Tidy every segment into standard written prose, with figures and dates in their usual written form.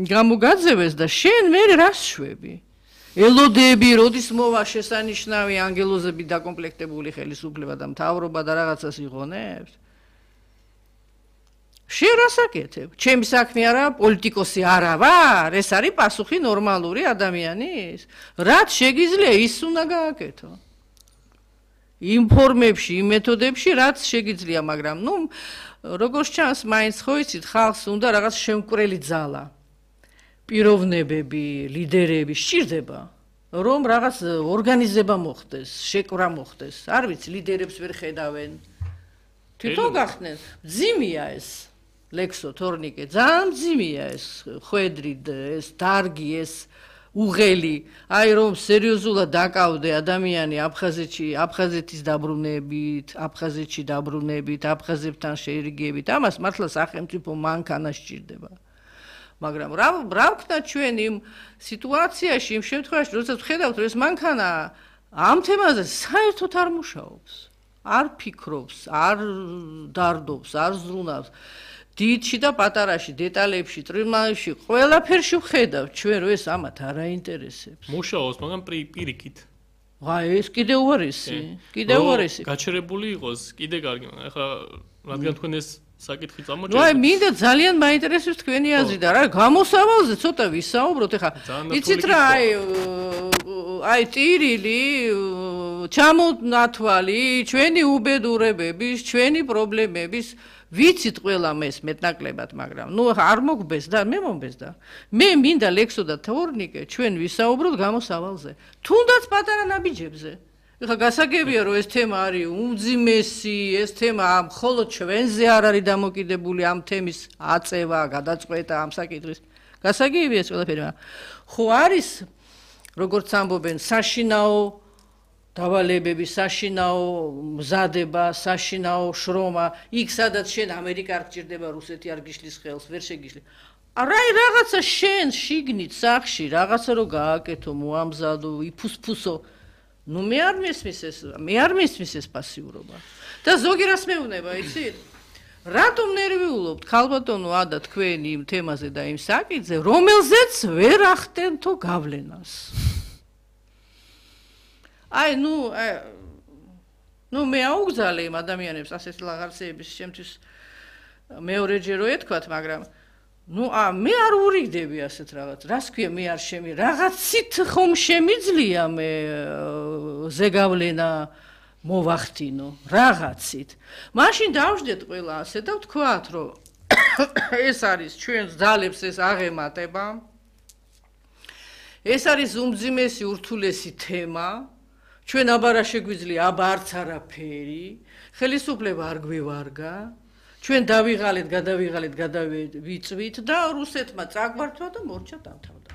გამოგაძევეს და შენ მე რას შვები? ელოდები, როდის მოვა შესანიშნავი ანგელოზები დაკომპლექტებული ხელისუფლება და მთავრობა და რაღაცას იღონებს? შენ რას აკეთებ? ჩემი საქმე არა, პოლიტიკოსი არა ვარ, ეს არის პასუხი ნორმალური ადამიანის. რაც შეგიძლია, ის უნდა გააკეთო. იმ ფორმებში, იმ მეთოდებში, რაც შეგიძლია, მაგრამ როგორც ჩანს, მაინც ხო იცით, ხალხს უნდა რაღაც შემკვრელი ძალა. პიროვნებები, ლიდერები სჭირდება, რომ რაღაც ორგანიზება მოხდეს, შეკვრა მოხდეს. არ ვიცი, ლიდერებს ვერ ხედავენ. თვითონ გახდნენ, მძიმეა ეს. ლექსო თორნიკე, ძალიან მძიმეა ეს ხვედრი, ეს დარგი, ეს უღელი, აი რომ სერიოზულად დაკავდე ადამიანი აფხაზეთის დაბრუნებით, აფხაზებთან შეერიგებით, ამას მართლა სახელმწიფო მანქანა სჭირდება. მაგრამ რა ვქნა ჩვენ იმ სიტუაციაში, იმ შემთხვევაში, როდესაც ვხედავთ, რომ ეს მანქანა ამ თემაზე საერთოდ არ მუშაობს, არ ფიქრობს, არ დარდობს, არ ზრუნავს. დიდში და პატარაში, დეტალებში, ტრიმალებში, ყველაფერში ვხედავთ ჩვენ, რომ ეს ამათ არ აინტერესებს. მუშაობს, მაგრამ პირიქით. ეს კიდე უარესი, გაჩერებული იყოს, კიდე კარგი, ახლა რადგან თქვენ ეს საკითხი წამოჭერეთ. აი, მინდა ძალიან მაინტერესებს თქვენი აზრი და რა გამოსავალზე ცოტა ვისაუბროთ, ახლა იცით რა, აი ტირილი, ჩამონათვალი, ჩვენი უბედურებების, ჩვენი პრობლემების ვიცით ყველა ეს მეტნაკლებად, მაგრამ არ მოგბეს და მე მომბესდა. მე მინდა ლექსო და თორნიკე ჩვენ ვისაუბროთ გამოსავალზე. თუნდაც პატარა ნაბიჯებზე. ეხლა გასაგებია რომ ეს თემა არის უმძიმესი, ეს თემა მხოლოდ ჩვენზე არ არის დამოკიდებული ამ თემის აწევა, გადაწყვეტა ამ საკითხის. გასაგებია ეს ყველაფერი. ხო არის როგორც ამბობენ საშინაო დავალებები, საშინაო მზადება, საშინაო შრომა, იქ სადაც შენ ამერიკა არ გჭირდება, რუსეთი არ გიშლის ხელს, ვერ შეგიშლი. რაღაცა შენ შიგნით სახში, რაღაცა რო გააკეთო, მოამზადო, იფუსფუსო. მე არ მესმის ეს პასიურობა. და ზოგი რას მეუბნება, იცით? რატომ ნერვიულობთ ქალბატონო ადა თქვენ იმ თემაზე და იმ საკითხზე, რომელზეც ვერ ახდენთო გავლენას? აი, მე აუგზალე იმ ადამიანებს ასეთი ლაღარსეების შემთვის მეორეჯერ რო ეთქვათ, მაგრამ მე არ ურიგდები ასეთ რაღაც. რას ქვია, მე არ რაღაცით ხომ შემიძლია მე ზეგავლენა მოვახდინო, რაღაცით. მაშინ დავждეთ ყველა ასე და ვთქვათ, რომ ეს არის ჩვენს ძალებს ეს აღემატება. ეს არის უმძიმესი ურთულესი თემა. ჩვენ აბარა შეგვიძლია, აბა არც არაფერი, ხელისუფლება არ გვივარგა, ჩვენ დავიღალეთ, გადავივიწვით და რუსეთმა წაგვართვა და მორჩა დამთავრდა.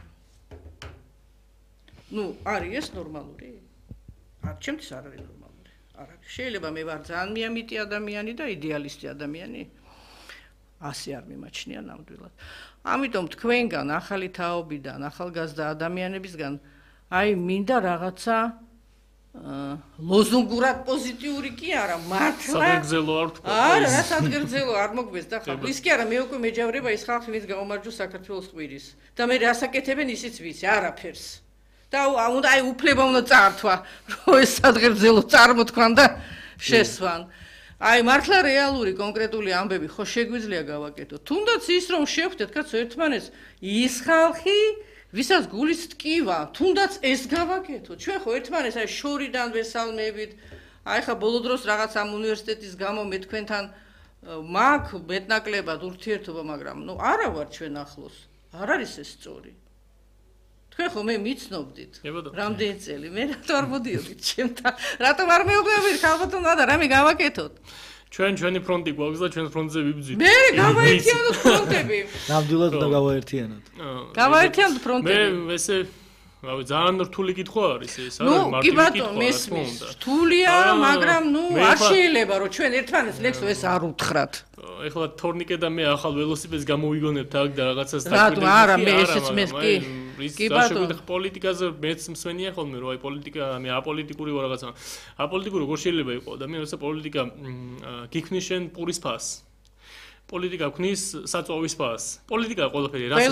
არის ეს ნორმალური? ჩემთვის არ არის ნორმალური. არ არის. შეიძლება მე ვარ ძალიან მიამიტი ადამიანი და იდეალისტი ადამიანი. ასე არ მიმაჩნია ნამდვილად. ამიტომ თქვენგან, ახალი თაობიდან, ახალგაზრდა ადამიანებისგან, მინდა რაღაცა ლოზუნგურად პოზიტიური კი არა, მართლა საგრძელო არ თქვა. არა, რა საგრძელო არ მოგბეს და ხა. ის კი არა, მე უკვე მეჯავრება ის ხალხი, ვინც გაუმარჯოს საქართველოს ყვირის. და მე რასაკეთებენ ისიც ვიცი, არაფერს. და უნდა უფლება უნდა წართვა, რომ ეს საგრძელო წარმოთქვან და შესვან. მართლა რეალური კონკრეტული ამბები ხო შეგვიძლია გავაკეთოთ. თუნდაც ის რომ შევხვდეთ კაცო ერთმანეთს, ის ხალხი ვისაც გულის ტკივა, თუნდაც ეს გავაკეთოთ. ჩვენ ხო ერთმანეთს შორიდან ვესალმებით. ხა ბოლო დროს რაღაც ამ უნივერსიტეტის გამო მე თქვენთან მაქვს მეტნაკლებად ურთიერთობა, მაგრამ არა ვარ ჩვენ ახლოს. არ არის ეს სწორი. თქვენ ხო მე მიცნობდით. რამდენი წელი მე რატო არ მოდიოდით ჩემთან? რატომ არ მეუბნებოდით ხალხთან და რამე გავაკეთოთ? ჩვენი ფრონტი გვაქვს და ჩვენ ფრონტზე ვიბრძვით. მე გავაერთიანოთ ფრონტები. ნამდვილად უნდა გავაერთიანოთ. გავაერთიანოთ ფრონტები. მე ესე ძალიან რთული კითხვა არის ეს, არა მარტივი კითხვა. მესმის. რთულია, მაგრამ არ შეიძლება რომ ჩვენ ერთმანეთს ლექსო ეს არ უთხრათ. ეხლა თორნიკე და მე ახალ ველოსიპედს გამოვიგონებთ აქ და რაღაცას დაგვიდეთ. არა, მე ესეც მე კი ბატონო. პოლიტიკაზე მეც მსმენია ხოლმე რომ პოლიტიკა, მე აპოლიტიკური ვარ რაღაცა. აპოლიტიკური როგორ შეიძლება იყოს და მე როცა პოლიტიკა გიქმნის შენ პურის ფას. პოლიტიკა ქნის საწვავის ფას. პოლიტიკა ყველაფერი რას